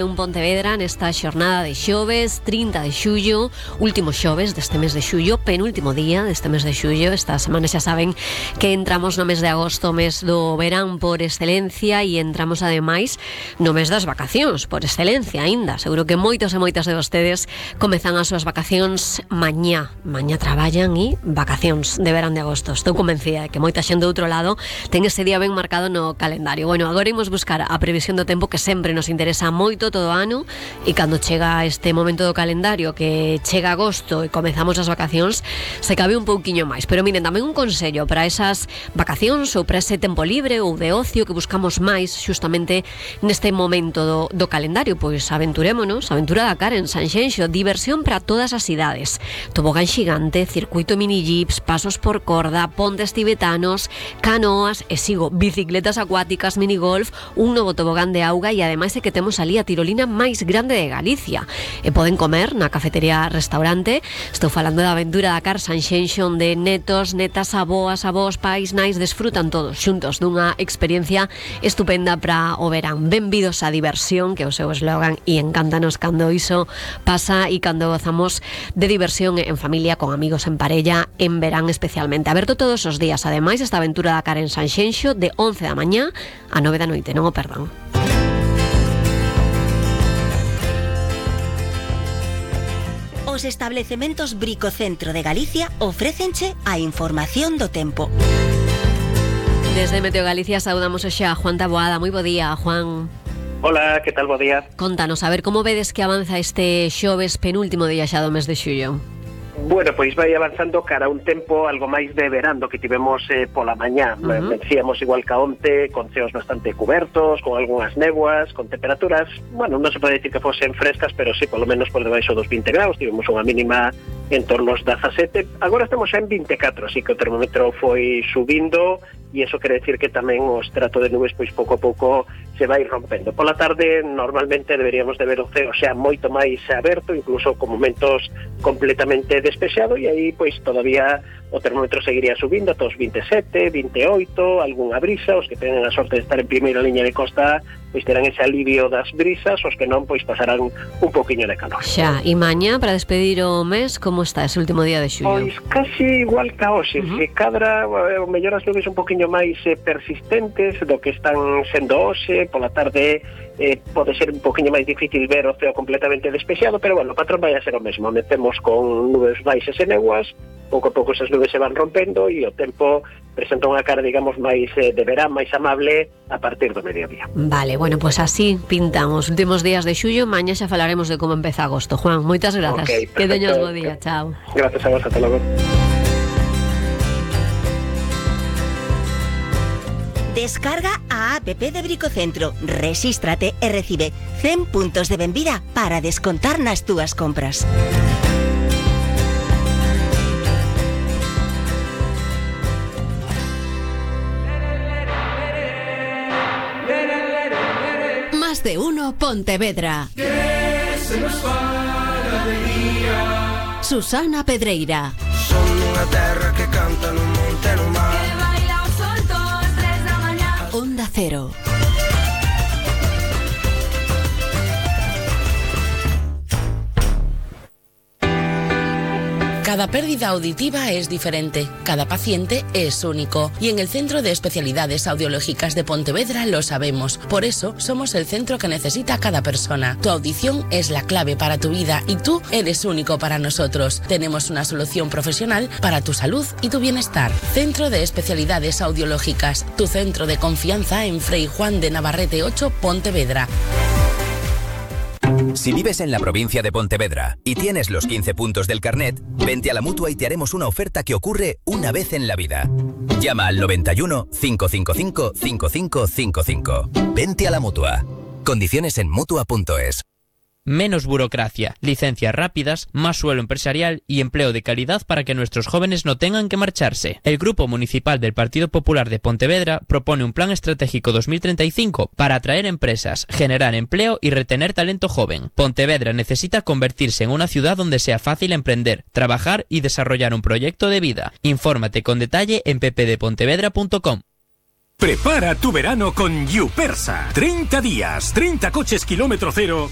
En Pontevedra nesta xornada de xoves, 30 de xullo, último xoves deste mes de xullo, penúltimo día deste mes de xullo. Esta semana xa saben que entramos no mes de agosto, mes do verán por excelencia, e entramos ademais no mes das vacacións por excelencia aínda. Seguro que moitos e moitas de vostedes comezan as súas vacacións mañá traballan e vacacións de verán de agosto. Estou convencida de que moita xente do outro lado ten ese día ben marcado no calendario. Bueno, agora imos buscar a previsión do tempo, que sempre nos interesa moito todo o ano, e cando chega este momento do calendario, que chega agosto e comezamos as vacacións, se cabe un pouquiño máis. Pero miren, tamén un consello para esas vacacións ou para ese tempo libre ou de ocio que buscamos máis xustamente neste momento do calendario. Pois aventurémonos, Aventura Dakar en Sanxenxo, diversión para todas as idades, tobogán xigante, circuito mini jeeps, pasos por corda, pontes tibetanos, canoas e bicicletas acuáticas, minigolf, un novo tobogán de auga, e ademais é que temos ali a tirolina máis grande de Galicia. E poden comer na cafetería restaurante. Estou falando da Aventura Dakar Sanxenxo, onde netos, netas, avós, pais, nais desfrutan todos xuntos dunha experiencia estupenda para o verán. Benvidos á diversión, que é o seu eslogan, e encántanos cando iso pasa e cando gozamos de diversión en familia, con amigos, en parella, en verán especialmente. Aberto todos os días, ademais, esta Aventura Dakar en Sanxenxo, de 11 da mañá a 9 da noite, non o perdan. Os establecementos Bricocentro de Galicia ofrécenche a información do tempo. Desde Meteo Galicia saudamos hoxe a Juan Taboada. Moi bo día, Juan. Hola, que tal, bo día? Contanos, a ver, como vedes que avanza este xoves, penúltimo día xa do mes de xullo? Bueno, pois vai avanzando cara a un tempo algo máis de verán do que tivemos pola mañá. Decíamos igual que onte, con ceos bastante cubertos, con algunhas néboas, con temperaturas, bueno, non se pode dicir que fosen frescas, pero sí, polo menos por debaixo dos 20 graus. Tivemos unha mínima en torno aos 17. Agora estamos xa en 24, así que o termómetro foi subindo, e iso quere decir que tamén o estrato de nubes pois pouco a pouco se vai rompendo. Pola tarde normalmente deberíamos de ver o ceo xa moito máis aberto, incluso con momentos completamente despexado, e aí pois todavía o termómetro seguiría subindo ata os 27, 28, algunha brisa. Os que tenen a sorte de estar en primeira liña de costa pois terán ese alivio das brisas, os que non pois pasarán un poquinho de calor. Xa, e mañá, para despedir o mes, como está ese último día de xullo? Pois casi igual que hoxe, se cadra o mellor as nubes un poquinho máis persistentes do que están sendo hoxe. Pola tarde pode ser un poquinho máis difícil ver o ceo completamente despexado, pero bueno, o patrón vai a ser o mesmo. Metemos con nubes baixas e néboas, pouco a pouco esas nubes se van rompendo, e o tempo presenta unha cara, digamos, máis de verán, máis amable a partir do mediodía. Vale, bueno, pues así pintan os últimos días de xullo. Mañá xa falaremos de como empeza agosto. Juan, moitas grazas. Okay, que teñas bo día, chao. Gracias a vos, ata logo. Descarga a app de Bricocentro, rexístrate e recibe 100 puntos de benvida para descontar nas túas compras. Más de uno Pontevedra. Que se nos faga de día. Susana Pedreira. Son unha terra que canta no monte e no mar. Que baila o sol todas 3 da mañá. Onda Cero. Cada pérdida auditiva es diferente, cada paciente es único, y en el Centro de Especialidades Audiológicas de Pontevedra lo sabemos. Por eso somos el centro que necesita cada persona. Tu audición es la clave para tu vida y tú eres único para nosotros. Tenemos una solución profesional para tu salud y tu bienestar. Centro de Especialidades Audiológicas, tu centro de confianza en Frei Juan de Navarrete 8, Pontevedra. Si vives en la provincia de Pontevedra y tienes los 15 puntos del carnet, vente a la Mutua y te haremos una oferta que ocurre una vez en la vida. Llama al 91 555 5555. Vente a la Mutua. Condiciones en Mutua.es. Menos burocracia, licencias rápidas, más suelo empresarial y empleo de calidad para que nuestros jóvenes no tengan que marcharse. El Grupo Municipal del Partido Popular de Pontevedra propone un plan estratégico 2035 para atraer empresas, generar empleo y retener talento joven. Pontevedra necesita convertirse en una ciudad donde sea fácil emprender, trabajar y desarrollar un proyecto de vida. Infórmate con detalle en ppdepontevedra.com. Prepara tu verano con Yupersa. 30 días, 30 coches kilómetro cero